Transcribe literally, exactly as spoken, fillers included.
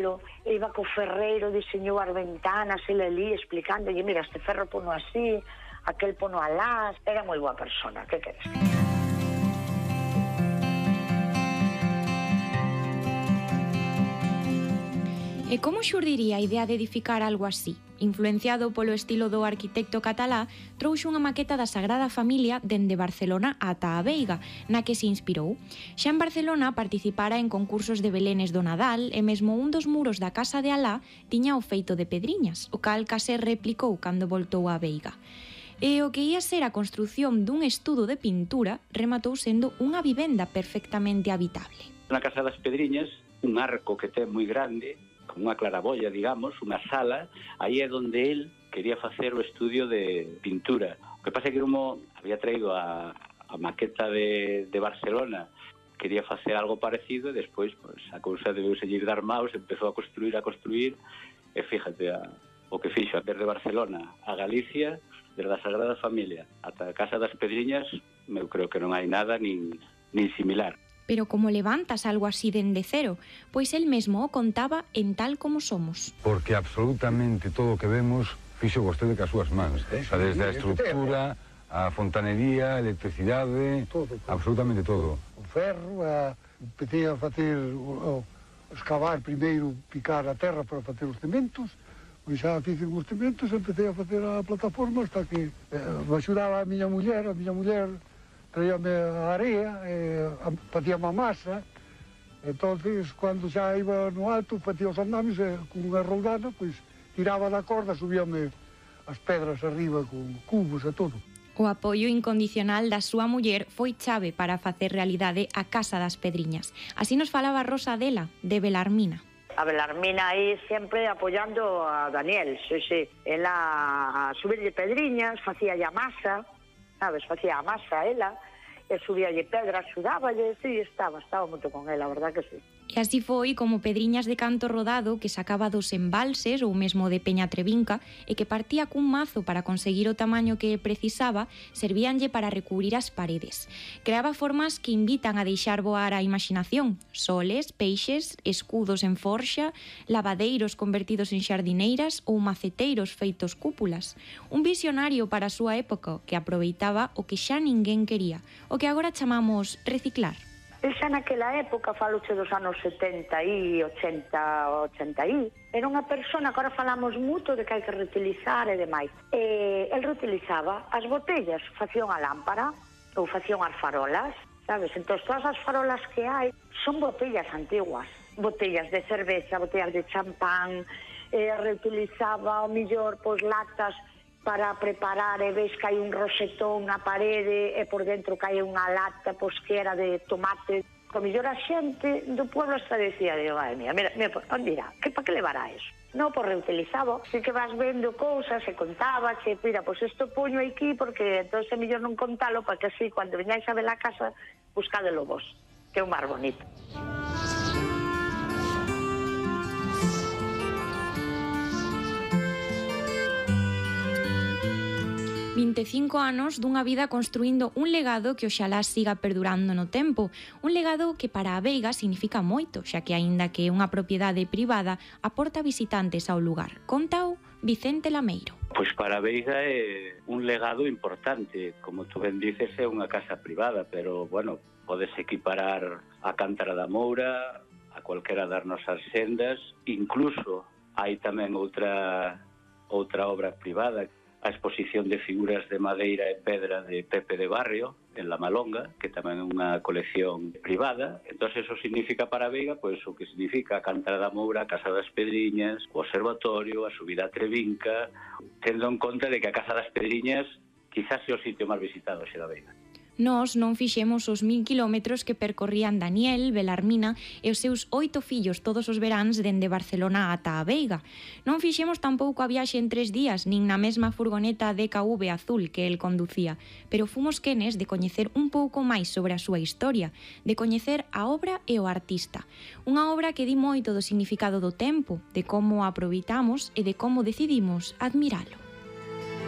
E iba co ferreiro, diseñou as ventanas, ele ali explicándolle, mira, este ferro pono así, aquel pono alás. Era moi boa persona, que queres? E como xurdiría a idea de edificar algo así? Influenciado polo estilo do arquitecto catalá, trouxo unha maqueta da Sagrada Familia dende Barcelona ata a Veiga, na que se inspirou. Xa en Barcelona participara en concursos de belenes do Nadal e mesmo un dos muros da casa de Alá tiña o feito de pedriñas, o cal case replicou cando voltou a Veiga. E o que ia ser a construción dun estudo de pintura rematou sendo unha vivenda perfectamente habitable. Na Casa das Pedriñas, un arco que ten moi grande, con unha claraboia, digamos, unha sala, aí é onde el quería facer o estudio de pintura. O que pasa é que como había traído a, a maqueta de, de Barcelona, quería facer algo parecido e despois pues, a cousa debeu seguir dar maus, empezou a construir, a construir, e fíjate a, o que fixo desde Barcelona a Galicia, desde a Sagrada Familia ata a Casa das Pedriñas, eu creo que non hai nada nin, nin similar. Pero como levantas algo así dende cero? Pois el mesmo o contaba en Tal como somos. Porque absolutamente todo o que vemos fixo vostede cas súas mans. O sea, desde a estructura, a fontanería, a electricidade, todo, todo. Absolutamente todo. O ferro, a, empecé a facer, o, a escavar primeiro, picar a terra para facer os cementos, e xa fiz os cementos, empecé a facer a plataforma hasta que eh, me axudaba a miña muller, a miña muller traíame a area, eh, facíame a masa. Entonces, cando xa iba no alto, facía os andames, e con unha roldana, pois tiraba da corda, subíame as pedras arriba con cubos e todo. O apoio incondicional da súa muller foi chave para facer realidade a Casa das Pedriñas. Así nos falaba Rosa Adela, de Belarmina. A Belarmina aí sempre apoiando a Daniel, sí, sí. Ela a subirlle pedriñas, facía a masa, sabes, facía a masa ela, e subíalle pedra, axudáballe, sí, estaba, estaba moito con ela, a verdad que sí. E así foi como Pedriñas de Canto Rodado, que sacaba dos embalses ou mesmo de Peña Trevinca e que partía cun mazo para conseguir o tamaño que precisaba, servíanlle para recubrir as paredes. Creaba formas que invitan a deixar voar a imaginación: soles, peixes, escudos en forxa, lavadeiros convertidos en xardineiras ou maceteiros feitos cúpulas. Un visionario para a súa época que aproveitaba o que xa ninguén quería, o que agora chamamos reciclar. El xa naquela época, faloche dos anos setenta e ochenta, ochenta e, era unha persona que agora falamos moito de que hai que reutilizar e demais. E el reutilizaba as botellas, facían a lámpara ou facían as farolas, sabes? Entón, todas as farolas que hai son botellas antiguas, botellas de cerveza, botellas de champán, eh, reutilizaba o millor, pois, latas para preparar, e ves que hai un rosetón na parede e por dentro que hai unha lata, pois, que era de tomate. O mellor a xente do pueblo hasta decía, digo, ai, mira, mira, mira, onde irá? Que pa que levará eso? Non, por reutilizado. Así que vas vendo cousas e contaba, che, mira, pois isto poño aquí porque entón é mellor non contalo, para que así, cando veñáis a ver a casa, buscádelo vos, que é o máis bonito. vinte e cinco anos dunha vida construindo un legado que oxalá siga perdurando no tempo, un legado que para a Veiga significa moito, xa que aínda que é unha propiedade privada, aporta visitantes ao lugar. Contao Vicente Lameiro. Pois para a Veiga é un legado importante, como tú ben dices, é unha casa privada, pero, bueno, podes equiparar a Cántara da Moura, a cualquera das nosas sendas, incluso hai tamén outra outra obra privada, a exposición de figuras de madeira e pedra de Pepe de Barrio en La Malonga, que tamén é unha colección privada. Entón, eso significa para a Veiga, pois, o que significa a Cántara da Moura, a Casa das Pedriñas, o Observatorio, a subida a Trevinca, tendo en conta de que a Casa das Pedriñas quizás é o sitio máis visitado xe da Veiga. Nós non fixemos os mil kilómetros que percorrían Daniel, Belarmina e os seus oito fillos todos os veráns dende Barcelona ata a Veiga. Non fixemos tampouco a viaxe en tres días, nin na mesma furgoneta D K V azul que el conducía, pero fomos quenes de coñecer un pouco máis sobre a súa historia, de coñecer a obra e o artista. Unha obra que di moito do significado do tempo, de como a aproveitamos e de como decidimos admiralo.